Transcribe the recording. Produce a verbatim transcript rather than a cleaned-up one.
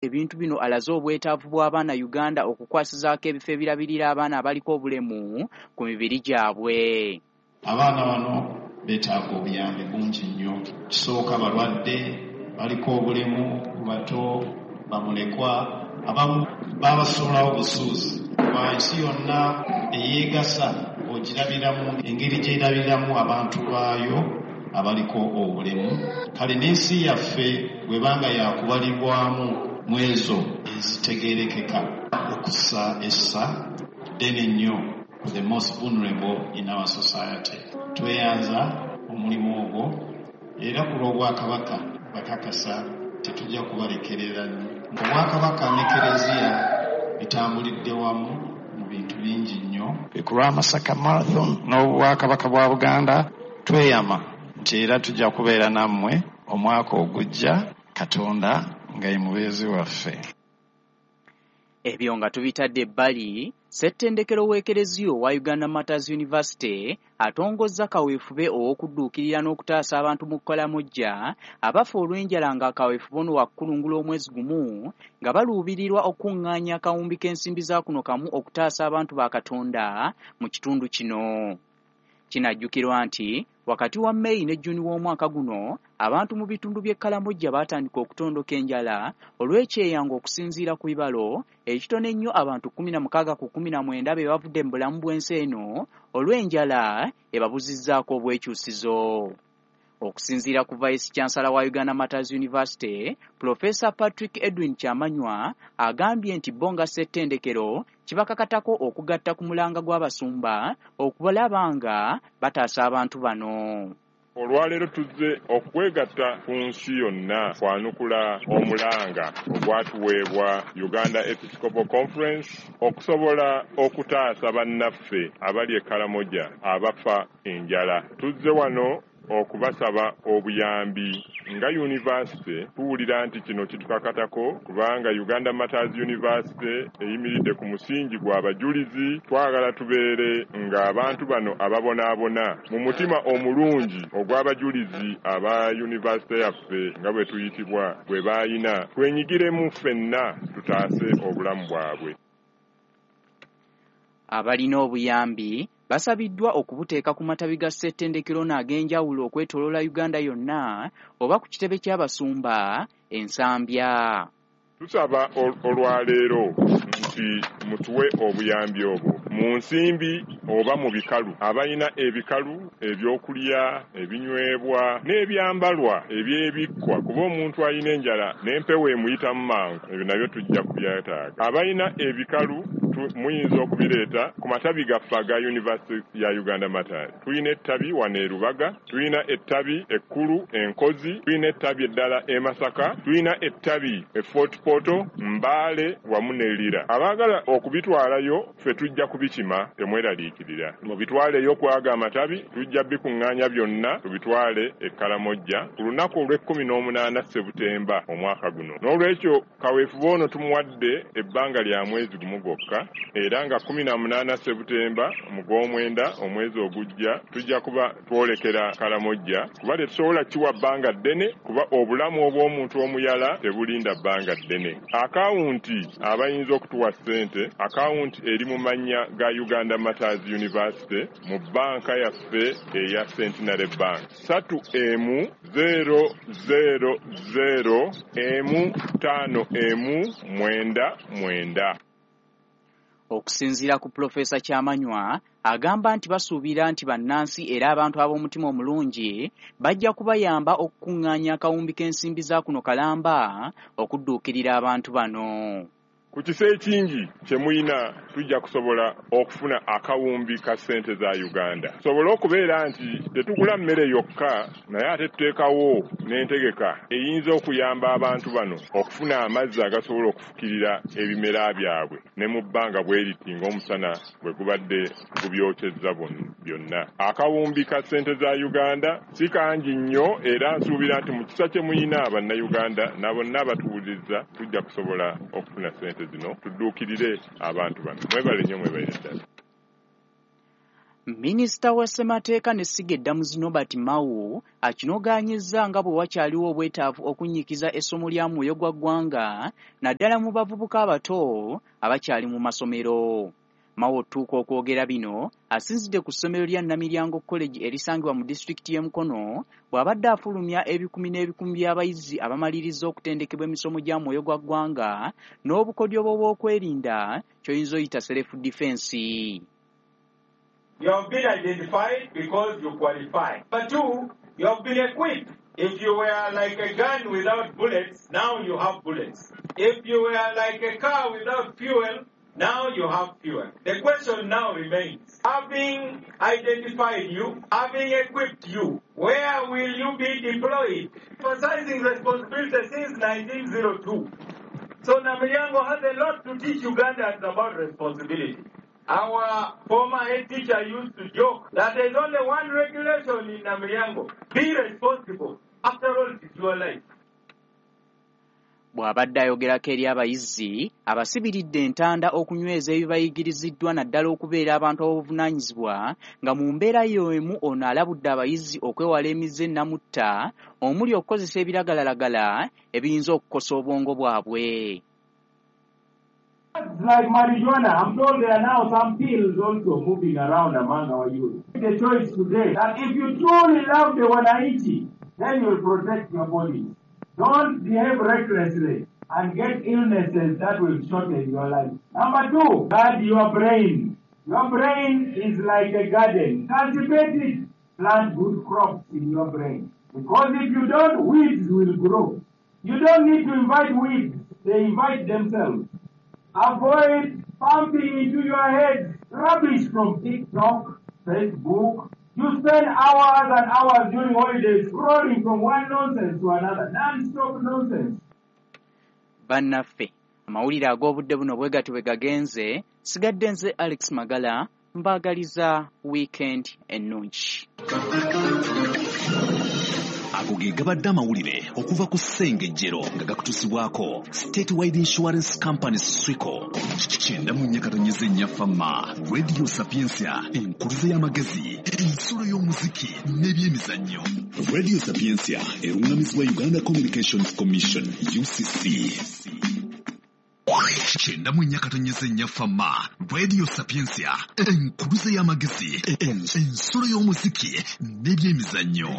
Ebintu bino alaze obwetaavu bw'abaana Uganda okukwasizaako ebifo ebirabirira abaana abaliko obulemu ku mibiri gyabwe. Abaana bano beetaaga obuyambi bungi nnyo. Kisooka balwadde, baliko obulemu, bato, bamulekwa, abamu babasuulawo busuuzi. Kuba ensi yonna eyeegasa ogirabiramu engeri gy'erabiramu abantu baayo abaliko obulemu. Kale n'ensi yaffe bw'ebanga yakubalibwamu mu ezo ezitegeerekeka okussa essa ddene nnyo ku the most vulnerable in our society. Tweyanza omulimu ogwo era ku lw'Obwakabaka bakakasa tetujja kubalekerera nnyo. Obwakabaka ne Kereziya bitambulidde wamu mu bintu bingi nnyo. Ku lwa Masaka Marathon n'Obwakabaka bwa Buganda tweyama nti era tujja kubeera nammwe omwaka ogujja Katonda nga ye mubeezi waffe. Ebyo nga tubitadde ebbali, Ssettendekero w'Ekereziya owa Uganda Martyrs University atongozza kaweefube ow'okudduukirira n'okutaasa abantu mu Kkalamojja abafa olw'enjala nga kaweefube ono wakukulungula omwezi gumu nga baluubirirwa okukungaanya akawumbi k'ensimbi za kuno kamu okutaasa abantu ba Katonda mu kitundu kino. Kinajjukirwa nti wakati wa May ne June w'omwaka guno abantu mu bitundu by'e Kkalamojja baatandika okutondoka enjala olw'ekyeyango okusinziira ku bibalo ekitono ennyo abantu kkumi na mukaaga ku kkumi na mwenda be bavudde mu bulamu bw'ensi eno olw'enjala ebabuzizzaako obwekyusizo. Okusinziira ku Vice Chancellor wa Uganda Martyrs University, Professor Patrick Edwin Kyamanywa agambye nti bo nga ssettendekero kibakakatako okugatta ku mulanga gw'abasumba okubalaba nga bataasa abantu bano. Olwaleero tuzze okwegatta ku nsi yonna kwanukula omulanga ogwatuweebwa Uganda Episcopal Conference okusobola okutaasa bannaffe abali e Karamoja abafa enjala. Tuzze wano okubasaba obuyambi nga yunivasite tuwulira nti kino kitukakatako kubanga Uganda Martyrs University eyimiridde ku musingi gw'abajulizi. Twagala tubeere ng'abantu bano ababonaabona mu mutima omulungi ogw'abajulizi aba yunivasite yaffe nga bwe tuyitibwa bwe baayina twenyigiremu ffenna tutaase obulamu bwabwe. Abalina obuyambi basabiddwa okubuteeka ku matabi ga ssettendekero n'ag'enjawulo okwetooloola Uganda yonna oba ku kitebe ky'abasumba e Nsambya. Tusaba olwaleero nti mutuwe obuyambi obwo mu nsimbi oba mu bikalu. Abalina ebikalu ebyokulya, ebinywebwa n'ebyambalwa ebyebikkwa kuba omuntu alina enjala n'empewo emuyitamu mangu, ebyo nabyo tujja kubyetaaga. Abalina ebikalu muyinza okubireeta ku matabi gaffe aga Yunivasite ya Uganda Martyrs. Tulina ettabi wano e Rubaga, tulina ettabi ekkulu e Nkozi, tulina ettabi eddala e Masaka, tulina ettabi e Fort Portal, Mbale wamu ne Lira. Abaagala okubitwalayo ffe tujja kubikima, temweraliikirira. Mubitwaleyo kwaga amatabi, tujja bikuŋŋaanya byonna tubitwale e Karamoja ku lunaku olw'ekkumi n'omunaana Ssebutemba omwaka guno. N'olwekyo kaweefube ono tumuwadde ebbanga lya mwezi gumu gwokka, era nga kkumi na munaana Ssebutemba mu gw'omwenda omwezi ogujja tujja kuba twolekera Karamoja, kuba tetusobola kiwa bbanga ddene kuba obulamu obw'omuntu omuyala tebulinda bbanga ddene. Akawunti abayinza okutuwa ssente, akawunti eri mu mannya ga Uganda Martyrs University mu bbanka yaffe eya Centenary Bank ssatu emu zero zero zero emu ttaano emu mwenda mwenda. Okusinziira ku Pulofeesa Kyamanywa agamba nti basuubira nti bannansi era abantu ab'omutima omulungi bajja kubayamba okukungaanya akawumbi k'ensimbi za kuno kalamba okudduukirira abantu bano. Ku kisa ekingi kye muyina tujja kusobola okufuna akawumbi ka ssente za Uganda. Tusobole okubeera nti tetugula mmere yokka naye ate tuteekawo n'entegeka eyinza okuyamba abantu bano okufuna amazzi agasobola okufukirira ebimera byabwe ne mu bbanga bwe riti ng'omusana bwe gubadde gubyokyezza byonna. Akawumbi ka ssente za Uganda si kangi nnyo era nsuubira nti mu kisa kye muyina Bannayuganda na bonna abatuwuliriza tujja kusobola okufuna ssente zino tudduukirire abantu bano. Mwebale nnyo, mwebalire ddala. Minisita wa Ssemateeka n'essiga eddamuzi Norbert Mao akinogaanyizza nga bwe wakyaliwo obwetaavu okunnyikiza essomo lya mwoyo gwa ggwanga naddala mu bavubuka abato abakyali mu masomero. Mao otuuka okwogera bino asinzidde ku ssomero lya Namilyango College erisangibwa mu disitulikiti y'e Mukono bw'abadde afulumya ebikumi n'ebikumi by'abayizi abamalirizza okutendekebwa emisomo gya mwoyo gwa ggwanga n'obukodyo bw'okwerinda ky'oyinza oyita self defense. You have been identified because you qualify. Number two, you have been equipped. If you were like a gun without bullets, now you have bullets. If you were like a car without fuel, now you have fuel. The question now remains, having identified you, having equipped you, where will you be deployed? Emphasizing responsibility since nineteen oh two. So Namilyango has a lot to teach Ugandans about responsibility. Our former head teacher used to joke that there's only one regulation in Namilyango. Be responsible. After all, it is your life. Bw'abadde ayogerako eri abayizi abasibiridde entanda okunyweza ebibayigiriziddwa naddala okubeera abantu ab'obuvunaanyizibwa nga mu mbeera y'emu ono alabudde abayizi okwewala emize ennamutta omuli okukozesa ebiragalalagala ebiyinza okukosa obwongo bwabwe. Like marijuana, I'm told there are now some pills also moving around among our youth. The choice today that if you truly love the Wananchi, then you'll protect your body. Don't behave recklessly and get illnesses that will shorten your life. Number two, guard your brain. Your brain is like a garden. Cultivate it. Plant good crops in your brain. Because if you don't, weeds will grow. You don't need to invite weeds. They invite themselves. Avoid pumping into your head rubbish from TikTok, Facebook. You spend hours and hours during holidays scrolling from one nonsense to another, non-stop nonsense. Bannaffe, amawulire ag'obudde buno bwe gatyo bwe gagenze, sigadde nze Alex Magala, mbaagaliza weekend ennungi. Ago ge gabadde amawulire okuva ku Ssengejjero nga gakutuusibwako Statewide Insurance Company Swico. Kyenda mu nnya katonyeze nnya Fama, Radio Sapientia, enkuluze y'amagezi, ensulo y'omuziki n'ebyemizannyo. Radio Sapientia erungamizibwa Uganda Communications Commission U C C. Kyenda mu nnya katonyeze nnya Fama, Radio Sapientia, enkuluze y'amagezi, ensulo y'omuziki n'ebyemizannyo.